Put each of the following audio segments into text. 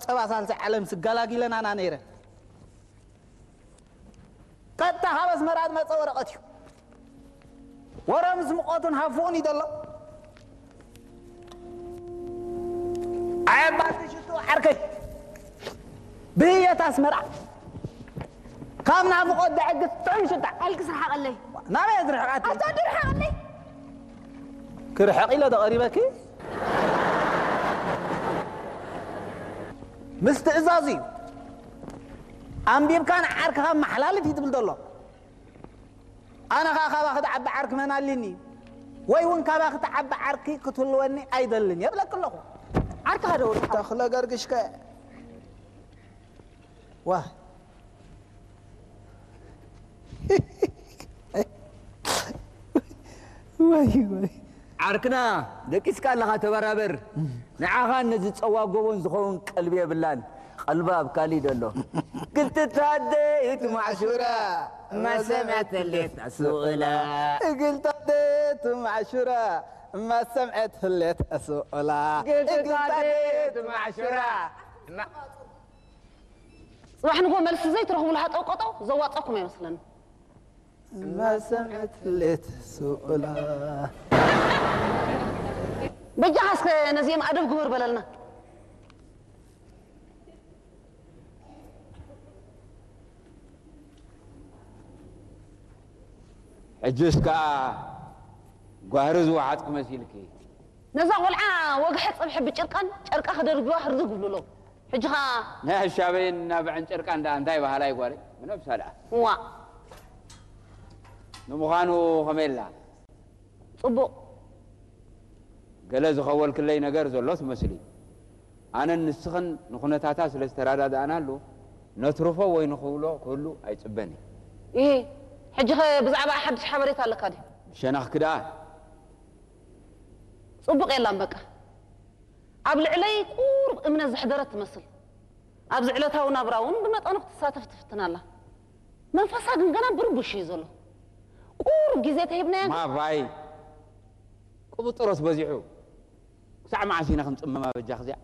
ጸባ ሳልሳይ ዓለም ስገላጊለናና ነይረ። ቀጥታ ካብ ኣስመራ ዝመጸ ወረቐት እዩ። ወረ ምስ ሙቐቱን ሃፉኡን እዩ ዘሎ። ኣየባቲ ሽቱ ዓርከይ፣ ብህየት ኣስመራ ካብ ናፍቖት ደዕግስ ጥዑም ሽታ። ኣልክስ ርሓቐለይ። ናበይ እየ ዝርሕቓት? ኣታ ድርሓቐለይ። ክርሕቕ ኢለ ዶ ቀሪበኪ? ምስ ትእዛዙ እዩ። ኣንቢብካ ንዓርክኻ መሓላልፍ እዩ ትብል ዘሎ። ኣነ ኸኣ ካባኺ ትዓቢ ዓርኪ መን ኣልኒ? ወይ እውን ካባኺ ትዓቢ ዓርኪ ክትህልወኒ ኣይደልን እየ እብለኪ ኣለኹ። ዓርክኻ ዶ ወዲ ሓወይ? ተኽለ ገርግሽከ? ዋ። ወይ፣ ወይ። ዓርክና፣ ደቂስካ ኣለኻ፣ ተበራበር። ንዓኻን ነዚ ጸዋ ጎቦን ዝኸውን ቀልቢ የብላን። ቀልባ ኣብ ካሊእ ደሎ። ክልተ ኣደ ይትማዕሹራ፣ ማሰምያ ተሌት ኣስውላ። ክልተ ኣደ ይትማዕሹራ፣ ማሰምዐ ተሌት ኣስውላ። ክልተ ኣደ ይትማዕሹራ። ጽባሕ ንግሆ መልሲ ዘይትረኽቡሉ ሃጠው ቀጠው ዘዋጸኩም ኣይመስለንን። ማሰምዐት ሌት ስኡላ። በጃኻ እስከ ነዚኦም ኣደብ ግበር በለልና። ሕጅስ ከኣ ጓህሪ ዝወሓጥኪ መሲልኪ። ነዛ ቆልዓ ወግሐ ጸብሐ ብጭርቃን ጨርቃ ክደርብዋ ህርድግ ይብሉ ኣለዉ። ሕጂ ኸኣ ናይ ኣሻበይን ናብዐን ጨርቃን ደኣ እንታይ በሃላይ ጓለይ? ብነብሳ ደኣ። እዋእ። ንምዃኑ ከመይ ኣላ? ጽቡቕ። ገለ ዝኸወልክለይ ነገር ዘሎ ትመስሊ። ኣነን ንስኽን ንኹነታታ ስለ ዝተረዳዳእናሉ፣ ነትርፎ ወይ ንኽብሎ ክህሉ ኣይጽበን እየ። ኢሂ፣ ሕጂኸ ብዛዕባኣ ሓድሽ ሓበሬታ ኣለካ ድዩ? ብሸነኽኪ ደኣ። ጽቡቕ የላን በቃ። ኣብ ልዕለይ ቁሩብ እምነት ዘሕደረት ትመስል። ኣብዚ ዕለታዊ ናብራ እውን ብመጠኑ ክትሳተፍ ትፍትን ኣላ። መንፈሳ ግን ገና ብርቡሽ እዩ ዘሎ። ቁሩብ ግዜ ተሂብናያ። ማባይ ቅብጥሮስ በዚሑ። ክሳዕ መዓስ ኢና ክንጽመማ በጃኺ እዚኣ?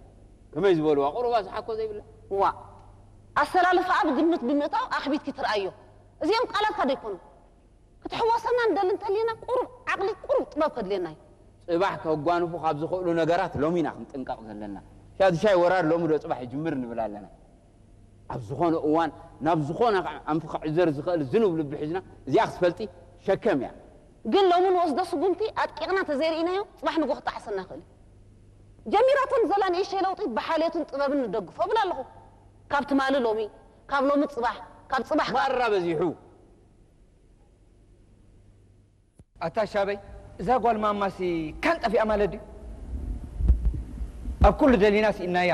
ከመይ ዝበልዋ ቁሩባ ዝሓኮ ዘይብላ? ዋእ፣ ኣሰላልፋኣ ብግምት ብምእታው ኣኽቢድኪ ትርኣዮ። እዚኦም ቃላትካ ዶ ኣይኮኑን? ክትሕወሰና ንደሊ እንተሊና ቁሩብ ዓቕሊ፣ ቁሩብ ጥበብ ከድልየና እዩ። ጽባሕ ከጓንፉ ካብ ዝኽእሉ ነገራት ሎሚ ኢና ክንጥንቀቕ ዘለና። ሻዱሻይ ወራር ሎሚ ዶ ጽባሕ ይጅምር ንብል ኣለና። ኣብ ዝኾነ እዋን ናብ ዝኾነ ከዓ ኣንፊ ክዕዘር ዝኽእል ዝኑብ ልቢ ሒዝና እዚኣ ክትፈልጢ ሸከም እያ። ግን ሎሚ ንወስዶ ስጉምቲ ኣጥቂቕና ተዘይርኢናዮ ጽባሕ ንግሆ ክጠዓሰና ይኽእል እዩ። ጀሚራቶ ንዘላ ንእሽተይ ለውጢ ብሓልዮትን ጥበብን ንደግፎ እብል ኣለኹ። ካብ ትማሊ ሎሚ፣ ካብ ሎሚ ጽባሕ፣ ካብ ጽባሕ ማራ በዚሑ። ኣታ ሻበይ፣ እዛ ጓል ማማሲ ካን ጠፊኣ ማለት ድዩ? ኣብ ኩሉ ደሊና ስኢናያ።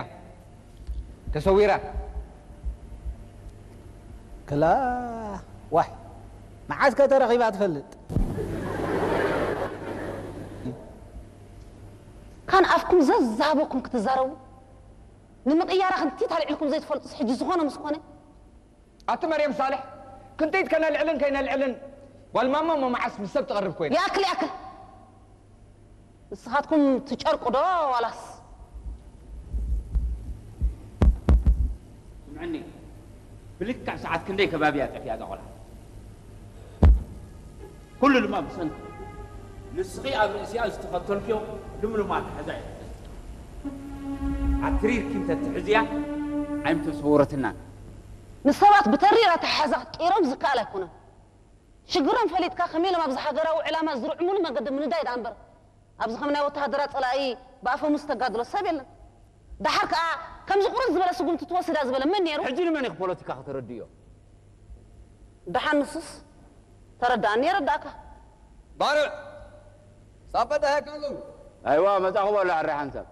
ተሰዊራ። ክላ ዋይ፣ መዓስ ከ ተረኺባ ትፈልጥ? ካን ኣፍኩም ዘዛበኩም ክትዛረቡ፣ ንምቕያራ ክንቲት ኣልዒልኩም ዘይትፈልጡስ ሕጂ ዝኾነ ምስ ኮነ? ኣቲ መርየም ሳልሕ፣ ክንቲት ከነልዕልን ከይነልዕልን ጓል ማማ እሞ መዓስ ምስ ሰብ ትቐርብ ኮይና? ይኣክል፣ ይኣክል። ንስኻትኩም ትጨርቁ ዶ ዋላስ? ስምዕኒ፣ ብልክዕ ሰዓት ክንደይ ከባቢ እያ ጠፊኣ እዛ ቆልዓ? ኩሉ ድማ ብሰንኪ ንስኺ ኣብ ርእሲኣ ዝተኸተልክዮ ልምሉም ኣተሓዛ እዩ። ኣትሪርኪ እንተትሕዝያ ኣይምተሰወረትናን። ንሰባት ብተሪር ኣተሓሕዛ ክትቅይሮም ዝከኣል ኣይኮነን። ሽግሮም ፈሊጥካ ከመይ ኢሎም ኣብዚ ሃገራዊ ዕላማ ዝርዕሙሉ መገዲ ምንዳይ ደኣ እምበር፣ ኣብዚ ከም ናይ ወተሃደራት ጸላኢ ብኣፈሙዝ ተጋድሎ ሰብ የለን። ደሓር ከኣ ከምዚ ቁርጥ ዝበለ ስጉምቲ ትወስዳ ዝበለ መን ነይሩ? ሕጂ ንመን ኢኺ ፖለቲካ ከተረድእዮ? ደሓን ንሱስ ተረዳእኒ የረዳእካ። ባርዕ ሳበ ደሃ ካሉ። ኣይዋ መጻኹ በሎ ኣረ ሓንሳብ።